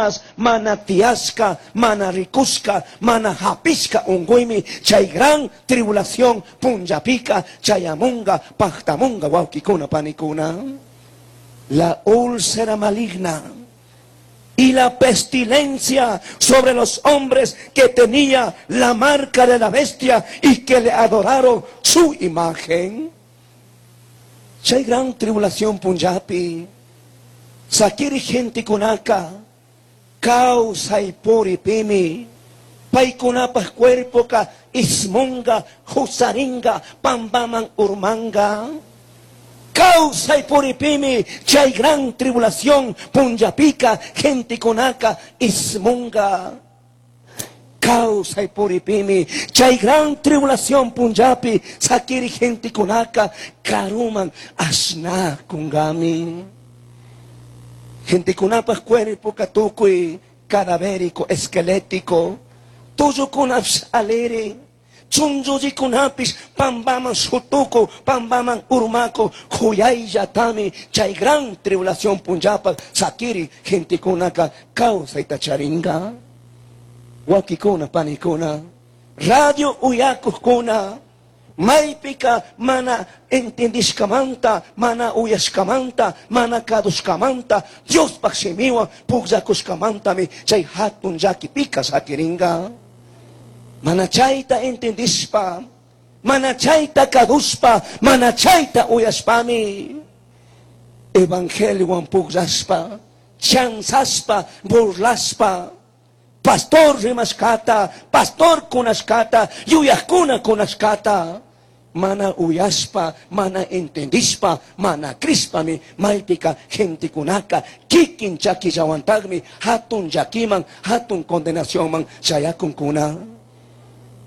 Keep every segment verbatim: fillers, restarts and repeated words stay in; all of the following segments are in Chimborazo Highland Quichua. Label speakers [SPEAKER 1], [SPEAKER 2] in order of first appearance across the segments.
[SPEAKER 1] Pipipash mana tiyashka, mana rikushka, mana hapishka unguymi chay gran tribulación punllapika chayamunga, pajtamunga, wawkikuna, panikuna. La úlcera maligna y la pestilencia sobre los hombres que tenía la marca de la bestia y que le adoraron su imagen. Chay gran tribulación punllapi, sakiri gentekunaka, kawsaypuripimi, paykunapaj cuerpoka ismunga, husaringa, pampaman urmanga. Kawsaypuripimi, chay gran tribulación punllapika, gentekunaka ismunga. Kawsaypuripimi, chay gran tribulación punllapi, sakiri gentekunaka, karuman ashnakungami. Gentekunapaj cuerpo tukuy cadavérico, esquelético, tullukunapish aliri, chunchullikunapish pampaman shutuku, pampaman urmaku, huyayllatami chay gran tribulación punllapaj sakiri gentekunaka kawsayta charinga. Wawkikuna, panikuna, radio uyakukuna, maypika mana entendishkamanta, mana uyashkamanta, mana kadushkamanta, Diospaj shimiwan pugllakushkamantami chay hatun llakipika sakiringa. Mana chayta entendishpa, mana chayta kadushpa, mana chayta uyashpami, evangeliowan pugllashpa, chanzashpa, burlashpa, pastor rimashkata, pastor kunashkata, yuyakuna kunashkata, mana uyashpa, mana entendishpa, mana crishpami, maypika gentekunaka, kikin chakillawantagmi, hatun llakiman, hatun condenacionman chayakunkuna.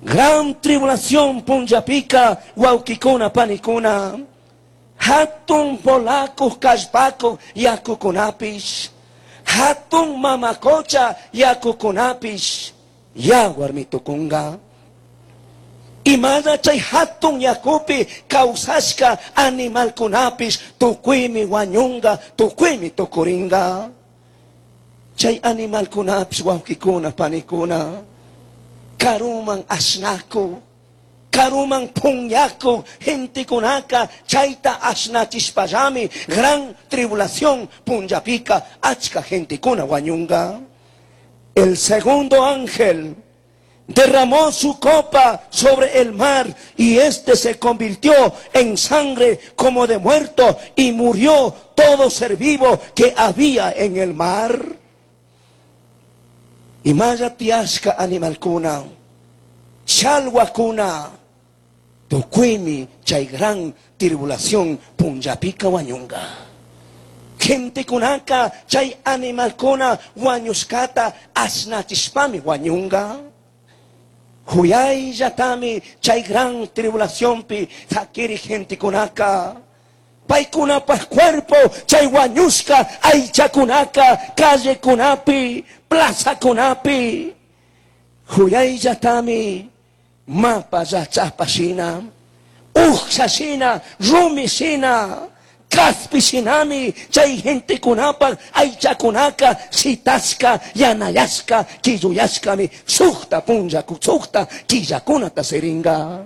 [SPEAKER 1] Gran tribulación punllapika, wawkikuna, panikuna, hatun volakuj kallpakuj yakukunapish, hatun mamakocha yakukunapish, yawarmi tukunga. Imana chay hatun yakupi kawsashka animalkunapish tukuymi wañunga, tukuymi tukuringa. Chay animalkunapish wawkikuna, panikuna, karuman ashnaku, karuman punyaku, gentekunaka chayta ashnachishpallami gran tribulación punllapika achka gentekuna wañunga. El segundo ángel derramó su copa sobre el mar y este se convirtió en sangre como de muerto y murió todo ser vivo que había en el mar. Imalla tiyashka animalkuna, chalwakuna, tukuymi chay gran tribulación punllapika wañunga. Gentekunaka chay animalkuna wañushkata ashnachishpami wañunga. Huyayllatami chay gran tribulacionpi sakiri gentekunaka. Paykunapaj cuerpo chay wañushka aychakunaka callekunapi, plazakunapi. Huyayllatami mapa llachapa shina, uksha shina, rumi shina, kaspi shinami chay gentekunapaj aychakunaka shitashka, yanayashka, quilluyashkami sukta punlla, sukta killakunata siringa.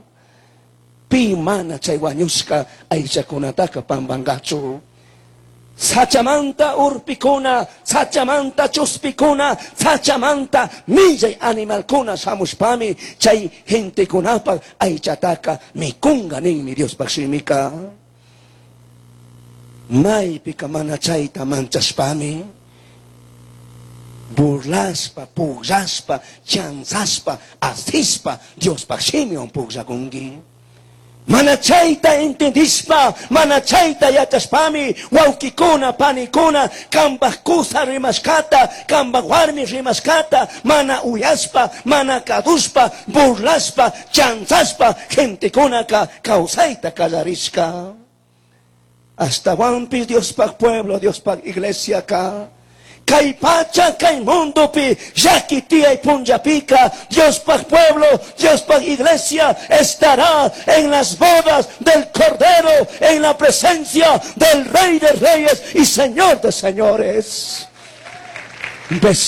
[SPEAKER 1] Pi mana chay wañushka aychakunataka pampangachu. Sachamanta urpikuna, sachamanta chuspikuna, sachamanta millay animalkuna shamushpami chay gentekunapaj aychataka mikunga ninmi Diospaj shimika. Maypika mana chayta manchashpami burlashpa, pugllashpa, chanzashpa, asishpa Diospaj shimiwan pugllakunki. Mana chayta entendishpa, mana chayta yachashpami, wawkikuna, panikuna, kambaj kusa rimashkata, kambaj warmi rimashkata, mana uyashpa, mana kadushpa, burlashpa, chanzashpa, gentekunaka kawsayta kallarishka. Ashtawanpish Diospaj pueblo, Diospaj iglesia ka. Kay pacha, kay mundopi, llaki tiyay punllapika, Diospaj pueblo, Diospaj iglesia estará en las bodas del Cordero, en la presencia del Rey de Reyes y Señor de Señores.